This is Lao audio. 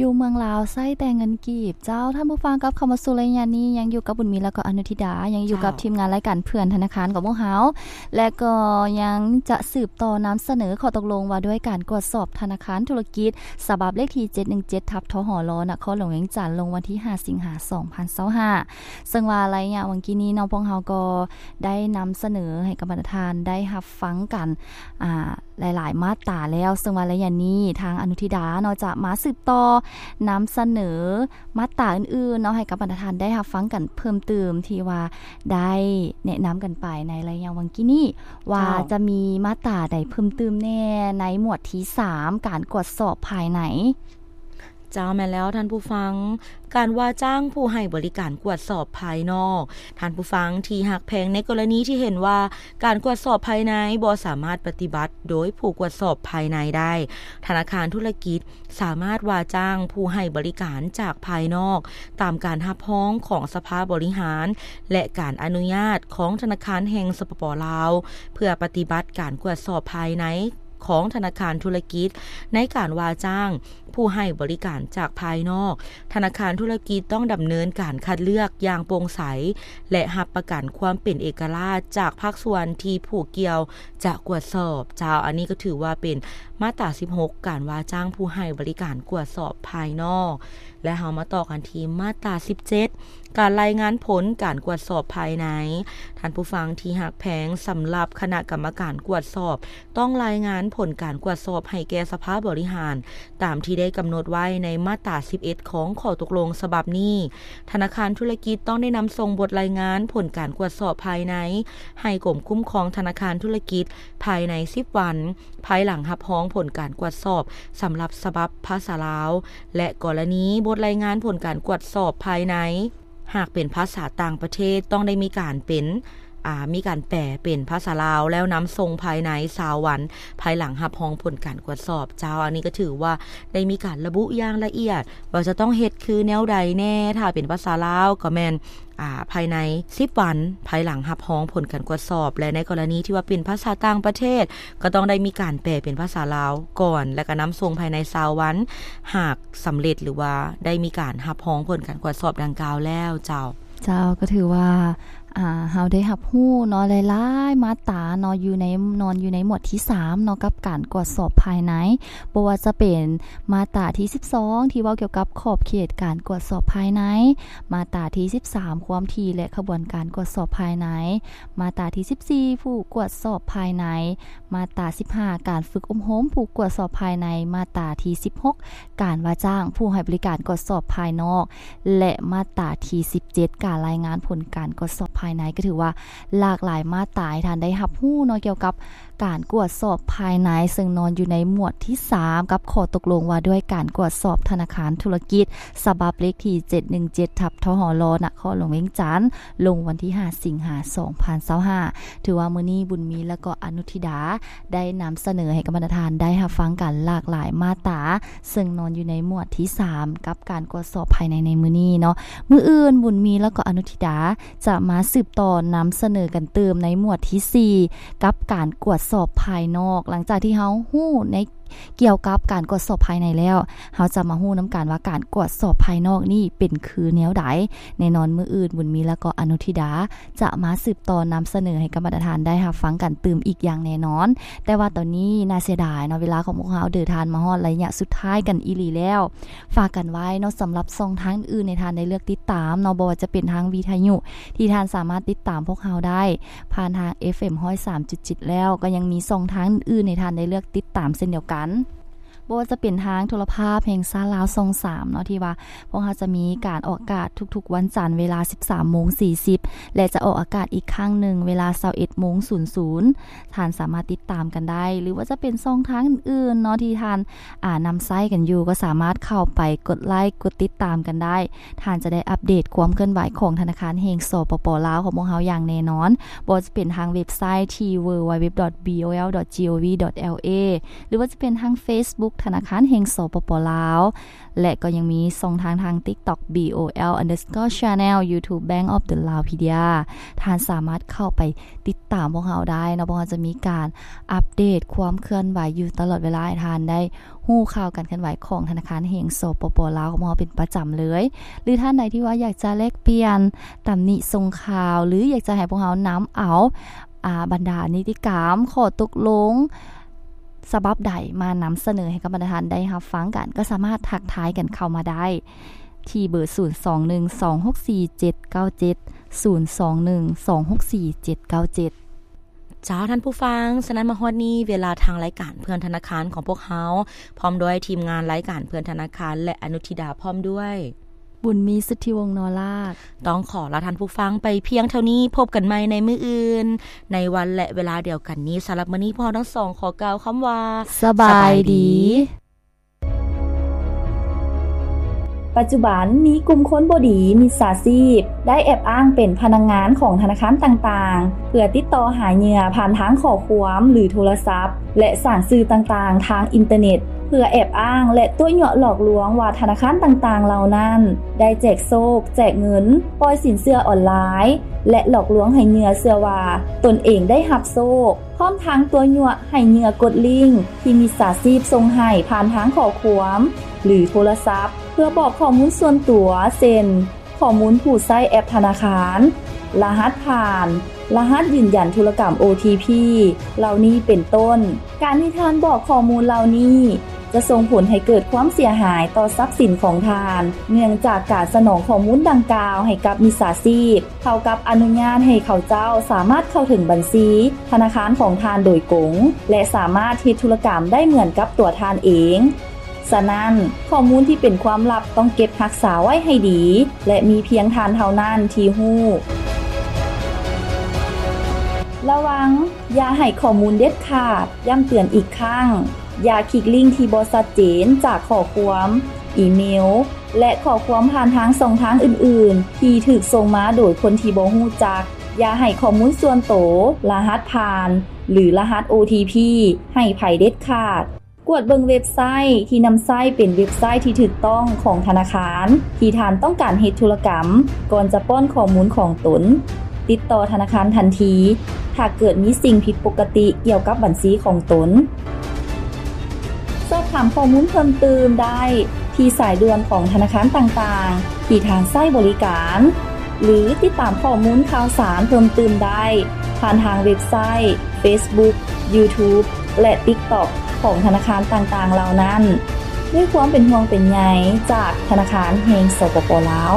ຢູ່ເມືອງລາວໃຊ້ແຕ່ເງິນກີບ. ເຈົ້າ, ທ່ານຜູ້ຟັງ ກັບເຂົ້າມາສູ່ໄລຍະນີ້ ຍັງຢູ່ກັບບຸນມີ ແລ້ວກໍອະນຸທິດາ, ຍັງຢູ່ກັບ ເຈົ້າ ທີມງານລາຍການເພື່ອນທະນາຄານຂອງພວກເຮົາ ແລະກໍຍັງຈະສືບຕໍ່ນຳສະເໜີຂໍ້ຕົກລົງວ່າດ້ວຍການກວດສອບທະນາຄານທຸລະກິດ ສະບັບເລກທີເຈັດໜຶ່ງເຈັດ ທັບ ທຫລ ນະຄອນຫຼວງວຽງຈັນ ລົງວັນທີຫ້າ ສິງຫາ ສອງພັນຊາວຫ້າ. ເຊິ່ງວ່າໄລຍະຫວ່າງກີ້ນີ້ເນາະ ພວກເຮົາກໍໄດ້ນຳສະເໜີໃຫ້ກັບບັນດາທ່ານໄດ້ຮັບຟັງກັນ ອ່າ ຫຼາຍໆມາດຕາແລ້ວ, ເຊິ່ງວ່າໄລຍະນີ້ທາງອະນຸທິດາເນາະ ຈະມາສືບຕໍ່ນຳສະເໜີມາດຕາອື່ນໆເນາະ ໃຫ້ກັບບັນດາທ່ານໄດ້ຮັບຟັງກັນເພີ່ມຕື່ມ ທີ່ວ່າໄດ້ແນະນຳກັນໄປໃນໄລຍະຫວ່າງກີ້ນີ້ ວ່າ ເຈົ້າ ຈະມີມາດຕາໃດເພີ່ມຕື່ມແດ່ໃນໝວດທີສາມ ການກວດສອບພາຍໃນ. ເຈົ້າ, ແມ່ນແລ້ວທ່ານຜູ້ຟັງ, ການວ່າຈ້າງຜູ້ໃຫ້ບໍລິການກວດສອບພາຍນອກ. ທ່ານຜູ້ຟັງທີ່ຮັກແພງ, ໃນກໍລະນີທີ່ເຫັນວ່າການກວດສອບພາຍໃນບໍ່ສາມາດປະຕິບັດໂດຍຜູ້ກວດສອບພາຍໃນໄດ້, ທະນາຄານທຸລະກິດສາມາດວ່າຈ້າງຜູ້ໃຫ້ບໍລິການຈາກພາຍນອກ ຕາມການຮັບຮອງຂອງສະພາບໍລິຫານ ແລະ ການອະນຸຍາດຂອງທະນາຄານແຫ່ງ ສປປ ລາວ ເພື່ອປະຕິບັດການກວດສອບພາຍໃນ ຂອງທະນາຄານທຸລະກິດ. ໃນການວ່າຈ້າງຜູ້ໃຫ້ບໍລິການຈາກພາຍນອກ, ທະນາຄານທຸລະກິດຕ້ອງດຳເນີນການຄັດເລືອກຢ່າງໂປ່ງໃສ ແລະ ຮັບປະກັນຄວາມເປັນເອກະລາດຈາກພາກສ່ວນທີ່ຜູ້ກ່ຽວຈະກວດສອບ. ເຈົ້າ, ອັນນີ້ກໍຖືວ່າເປັນມາດຕາສິບຫົກ ການວ່າຈ້າງຜູ້ໃຫ້ບໍລິການກວດສອບພາຍນອກ. ແລະ ເຮົາມາຕໍ່ກັນທີ່ມາດຕາສິບເຈັດ ການລາຍງານຜົນການກວດສອບພາຍໃນ. ທ່ານຜູ້ຟັງທີ່ຮັກແພງ, ສຳລັບຄະນະກຳມະການກວດສອບ ຕ້ອງລາຍງານຜົນການກວດສອບໃຫ້ແກ່ສະພາບໍລິຫານ ຕາມທີ່ໄດ້ກຳນົດໄວ້ໃນມາດຕາສິບເອັດ ຂອງຂໍ້ຕົກລົງສະບັບນີ້. ທະນາຄານທຸລະກິດຕ້ອງໄດ້ນຳສົ່ງບົດລາຍງານຜົນການກວດສອບພາຍໃນ ໃຫ້ກົມຄຸ້ມຄອງທະນາຄານທຸລະກິດ ພາຍໃນສິບວັນ ພາຍຫຼັງຮັບຮອງຜົນການກວດສອບສຳລັບສະບັບພາສາລາວ ແລະ ກໍລະນີບົດລາຍງານຜົນການກວດສອບພາຍໃນ ຫາກເປັນພາສາຕ່າງປະເທດ ຕ້ອງໄດ້ມີການເປັນ ອ່າ ມີການແປເປັນພາສາລາວ ແລ້ວນຳສົ່ງພາຍໃນຊາວວັນ ພາຍຫຼັງຮັບຮອງຜົນການກວດສອບ. ເຈົ້າ, ອັນນີ້ກໍຖືວ່າໄດ້ມີການລະບຸຢ່າງລະອຽດ ວ່າຈະຕ້ອງເຮັດຄືແນວໃດແດ່. ຖ້າເປັນພາສາລາວກໍແມ່ນ ອ່າ ພາຍໃນສິບວັນ ພາຍຫຼັງຮັບຮອງຜົນການກວດສອບ ແລະ ໃນກໍລະນີທີ່ວ່າເປັນພາສາຕ່າງປະເທດ ກໍຕ້ອງໄດ້ມີການແປເປັນພາສາລາວກ່ອນ ແລະ ກໍນຳສົ່ງພາຍໃນຊາວວັນ ຫາກສຳເລັດ ຫຼືວ່າໄດ້ມີການຮັບຮອງຜົນການກວດສອບດັ່ງກ່າວແລ້ວ. ເຈົ້າ. ເຈົ້າ, ກໍຖືວ່າ ອ່າ ເຮົາໄດ້ຮັບຮູ້ເນາະ ຫຼາຍໆມາດຕາເນາະ ຢູ່ໃນ ນອນຢູ່ໃນໝວດທີສາມເນາະ ກັບການກວດສອບພາຍໃນ. ບໍ່ວ່າຈະເປັນມາດຕາທີສິບສອງ ທີ່ເວົ້າກ່ຽວກັບຂອບເຂດການກວດສອບພາຍໃນ, ມາດຕາທີສິບສາມ ຄວາມຖີ່ ແລະ ຂະບວນການກວດສອບພາຍໃນ, ມາດຕາທີສິບສີ່ ຜູ້ກວດສອບພາຍໃນ, ມາດຕາສິບຫ້າ ການຝຶກອົບຮົມຜູ້ກວດສອບພາຍໃນ, ມາດຕາທີສິບຫົກ ການວ່າຈ້າງຜູ້ໃຫ້ບໍລິການກວດສອບພາຍນອກ ແລະ ມາດຕາທີສິບເຈັດ ການລາຍງານຜົນການກວດສອບພາຍໃນ. ກໍຖືວ່າຫຼາກຫຼາຍມາດຕາໃຫ້ທ່ານໄດ້ຮັບຮູ້ເນາະ ກ່ຽວກັບການກວດສອບພາຍໃນ, ເຊິ່ງນອນຢູ່ໃນໝວດທີສາມ ກັບຂໍ້ຕົກລົງວ່າດ້ວຍການກວດສອບທະນາຄານທຸລະກິດ ສະບັບເລກທີເຈັດໜຶ່ງເຈັດ ທັບ ທຫລ ນະຄອນຫຼວງວຽງຈັນ ລົງວັນທີຫ້າ ສິງຫາ ສອງພັນຊາວຫ້າ. ຖືວ່າມື້ນີ້ບຸນມີ ແລະ ກໍອະນຸທິດາ ໄດ້ນຳສະເໜີໃຫ້ກັບບັນດາທ່ານໄດ້ຮັບຟັງກັນຫຼາກຫຼາຍມາດຕາ, ເຊິ່ງນອນຢູ່ໃນໝວດທີສາມ ກັບການກວດສອບພາຍໃນໃນມື້ນີ້ເນາະ. ມື້ອື່ນບຸນມີ ແລະ ກໍອະນຸທິດາ ຈະມາສືບຕໍ່ນຳສະເໜີກັນຕື່ມໃນໝວດທີສີ່ ກັບການກວດສອບພາຍນອກ. ຫຼັງຈາກທີ່ເຮົາຮູ້ໃນ ກ່ຽວກັບການກວດສອບພາຍໃນແລ້ວ, ເຮົາຈະມາຮູ້ນຳກັນວ່າການກວດສອບພາຍນອກນີ້ເປັນຄືແນວໃດ. ແນ່ນອນມື້ອື່ນ ບຸນມີ ແລະ ກໍອະນຸທິດາ ຈະມາສືບຕໍ່ນຳສະເໜີໃຫ້ກັບບັນດາທ່ານໄດ້ຮັບຟັງກັນຕື່ມອີກຢ່າງແນ່ນອນ. ແຕ່ວ່າຕອນນີ້ໜ້າເສຍດາຍເນາະ, ເວລາຂອງພວກເຮົາເດີນທາງມາຮອດໄລຍະສຸດທ້າຍກັນອີ່ຫຼີແລ້ວ. ຝາກກັນໄວ້ເນາະ, ສຳລັບຊ່ອງທາງອື່ນໃຫ້ທ່ານໄດ້ເລືອກຕິດຕາມເນາະ, ບໍ່ວ່າຈະເປັນທາງວິທະຍຸ ທີ່ທ່ານສາມາດຕິດຕາມພວກເຮົາໄດ້ຜ່ານທາງ ເອຟເອັມ ຮ້ອຍສາມຈຸດເຈັດ ແລ້ວ, ກໍຍັງມີຊ່ອງທາງອື່ນໃຫ້ທ່ານໄດ້ເລືອກຕິດຕາມເຊັ່ນດຽວກັນ. ບໍ່ວ່າຈະເປັນທາງໂທລະພາບແຫ່ງຊາດລາວຊ່ອງສາມເນາະ ທີ່ວ່າພວກເຮົາຈະມີການອອກອາກາດທຸກໆວັນຈັນເວລາສິບສາມໂມງສີ່ສິບ ແລະ ຈະອອກອາກາດອີກຄັ້ງໜຶ່ງເວລາຊາວເອັດໂມງສູນສູນ ທ່ານສາມາດຕິດຕາມກັນໄດ້ ຫຼືວ່າຈະເປັນຊ່ອງທາງອື່ນໆເນາະ ທີ່ທ່ານ ອ່າ ນຳໃຊ້ກັນຢູ່ ກໍສາມາດເຂົ້າໄປກົດໄລກ໌ ກົດຕິດຕາມກັນໄດ້. ທ່ານຈະໄດ້ອັບເດດຄວາມເຄື່ອນໄຫວຂອງທະນາຄານແຫ່ງ ສປປ ລາວ ຂອງພວກເຮົາຢ່າງແນ່ນອນ, ບໍ່ວ່າຈະເປັນທາງເວັບໄຊ ທີ່ ดับเบิลยู ดับเบิลยู ดับเบิลยู ດອດ จี ໂອ วี ດອດ ແອລ ເອ ຫຼືວ່າຈະເປັນທາງເຟສບຸກ ທະນາຄານແຫ່ງ ສປປ ລາວ ແລະ ກໍຍັງມີຊ່ອງທາງທາງ TikTok ບີໂອແອລ underscore channel YouTube Bank of the Laopedia ທ່ານສາມາດເຂົ້າໄປຕິດຕາມພວກເຮົາໄດ້ເນາະ, ພວກເຮົາຈະມີການອັບເດດຄວາມເຄື່ອນໄຫວຢູ່ຕະຫຼອດເວລາ ໃຫ້ທ່ານໄດ້ຮູ້ຂ່າວການເຄື່ອນໄຫວຂອງທະນາຄານແຫ່ງ ສປປ ລາວ ຂອງເຮົາເປັນປະຈຳເລີຍ. ຫຼືທ່ານໃດທີ່ວ່າຢາກຈະແລກປ່ຽນ, ຕຳໜິຊົງຂ່າວ ຫຼື ຢາກຈະໃຫ້ພວກເຮົານຳເອົາ ອ່າ ບັນດານິຕິກຳ, ຂໍ້ຕົກລົງ ສະບັບໃດມານຳສະເໜີໃຫ້ກັບບັນດາທ່ານໄດ້ຮັບຟັງກັນ, ກໍສາມາດທັກທາຍກັນເຂົ້າມາໄດ້ທີ່ເບີ ສູນສອງໜຶ່ງ ສອງຫົກສີ່ ເຈັດເກົ້າເຈັດ ສູນສອງໜຶ່ງ ສອງຫົກສີ່ ເຈັດເກົ້າເຈັດ. ເຈົ້າ ທ່ານຜູ້ຟັງ, ສະນັ້ນມາຮອດນີ້ ເວລາທາງລາຍການເພື່ອນທະນາຄານຂອງພວກເຮົາ ພ້ອມດ້ວຍທີມງານລາຍການເພື່ອນທະນາຄານ ແລະ ອະນຸທິດາ ພ້ອມດ້ວຍ ບຸນມີ ສຸດທິວົງ ນໍລາກ ຕ້ອງຂໍລາທ່ານຜູ້ຟັງໄປພຽງເທົ່ານີ້. ພົບກັນໃໝ່ໃນມື້ອື່ນ ໃນວັນ ແລະ ເວລາດຽວກັນນີ້. ສຳລັບມື້ນີ້ ພວກເຮົາທັງສອງຂໍກ່າວຄຳວ່າ ສະບາຍດີ. ປັດຈຸບັນມີກຸ່ມຄົນບໍ່ດີ ມິດສາຊີບ ໄດ້ແອບອ້າງເປັນພະນັກງານຂອງທະນາຄານຕ່າງໆ ເພື່ອຕິດຕໍ່ຫາເຫຍື່ອຜ່ານທາງຂໍ້ຄວາມ ຫຼື ໂທລະສັບ ແລະ ສ້າງສື່ຕ່າງໆທາງອິນເຕີເນັດ ເພື່ອແອບອ້າງ ແລະ ຕົວະຍົວະຫຼອກລວງວ່າທະນາຄານຕ່າງໆເຫຼົ່ານັ້ນ ໄດ້ແຈກໂຊກ, ແຈກເງິນ, ປ່ອຍສິນເຊື່ອອອນລາຍ ແລະ ຫຼອກລວງໃຫ້ເຫຍື່ອເຊື່ອວ່າຕົນເອງໄດ້ຮັບໂຊກ. ພ້ອມທັງຕົວະຍົວະໃຫ້ເຫຍື່ອກົດລິ້ງທີ່ມິດສາຊີບສົ່ງໃຫ້ຜ່ານທາງຂໍ້ຄວາມ ຫຼື ໂທລະສັບ ເພື່ອບອກຂໍ້ມູນສ່ວນຕົວ ເຊັ່ນ ຂໍ້ມູນຜູ້ໃຊ້ແອັບທະນາຄານ, ລະຫັດຜ່ານ, ລະຫັດຢືນຢັນທຸລະກຳ ໂອທີພີ ເຫຼົ່ານີ້ເປັນຕົ້ນ. ການທີ່ທ່ານບອກຂໍ້ມູນເຫຼົ່ານີ້ ຈະສົ່ງຜົນໃຫ້ເກີດຄວາມເສຍຫາຍຕໍ່ຊັບສິນຂອງທ່ານ. ເນື່ອງຈາກການສະໜອງຂໍ້ມູນດັ່ງກ່າວໃຫ້ກັບມິດສາຊີບ ເທົ່າກັບອະນຸຍາດໃຫ້ເຂົາເຈົ້າສາມາດເຂົ້າເຖິງບັນຊີທະນາຄານຂອງທ່ານໂດຍກົງ ແລະ ສາມາດເຮັດທຸລະກຳໄດ້ເໝືອນກັບຕົວທ່ານເອງ. ສະນັ້ນ, ຂໍ້ມູນທີ່ເປັນຄວາມລັບຕ້ອງເກັບຮັກສາໄວ້ໃຫ້ດີ ແລະ ມີພຽງທ່ານເທົ່ານັ້ນທີ່ຮູ້. ລະວັງ, ຢ່າໃຫ້ຂໍ້ມູນເດັດຂາດ. ຢ້ຳເຕືອນອີກຄັ້ງ, ຢ່າຄລິກລິ້ງທີ່ບໍ່ຊັດເຈນຈາກຂໍ້ຄວາມ, ອີເມວ ແລະ ຂໍ້ຄວາມຜ່ານທາງຊ່ອງທາງອື່ນໆ ທີ່ຖືກສົ່ງມາໂດຍຄົນທີ່ບໍ່ຮູ້ຈັກ. ຢ່າໃຫ້ຂໍ້ມູນສ່ວນໂຕ, ລະຫັດຜ່ານ ຫຼື ລະຫັດ ໂອທີພີ ໃຫ້ໃຜເດັດຂາດ. ກວດເບິ່ງເວັບໄຊທີ່ນຳໃຊ້ເປັນເວັບໄຊທີ່ຖືກຕ້ອງຂອງທະນາຄານທີ່ທ່ານຕ້ອງການເຮັດທຸລະກຳ ກ່ອນຈະປ້ອນຂໍ້ມູນຂອງຕົນ. ຕິດຕໍ່ທະນາຄານທັນທີ ຖ້າເກີດມີສິ່ງຜິດປົກກະຕິກ່ຽວກັບບັນຊີຂອງຕົນ. ສອບຖາມຂໍ້ມູນເພີ່ມຕື່ມໄດ້ທີ່ສາຍດ່ວນຂອງທະນາຄານຕ່າງໆທີ່ທ່ານໃຊ້ບໍລິການ ຫຼື ຕິດຕາມຂໍ້ມູນຂ່າວສານເພີ່ມຕື່ມໄດ້ຜ່ານທາງເວັບໄຊ, ເຟສບຸກ, ຢູທູບ ແລະ ຕິກຕັອກ ຂອງທະນາຄານຕ່າງໆເຫຼົ່ານັ້ນ. ດ້ວຍຄວາມເປັນຫ່ວງເປັນໃຍຈາກທະນາຄານແຫ່ງ ສປປ ລາວ.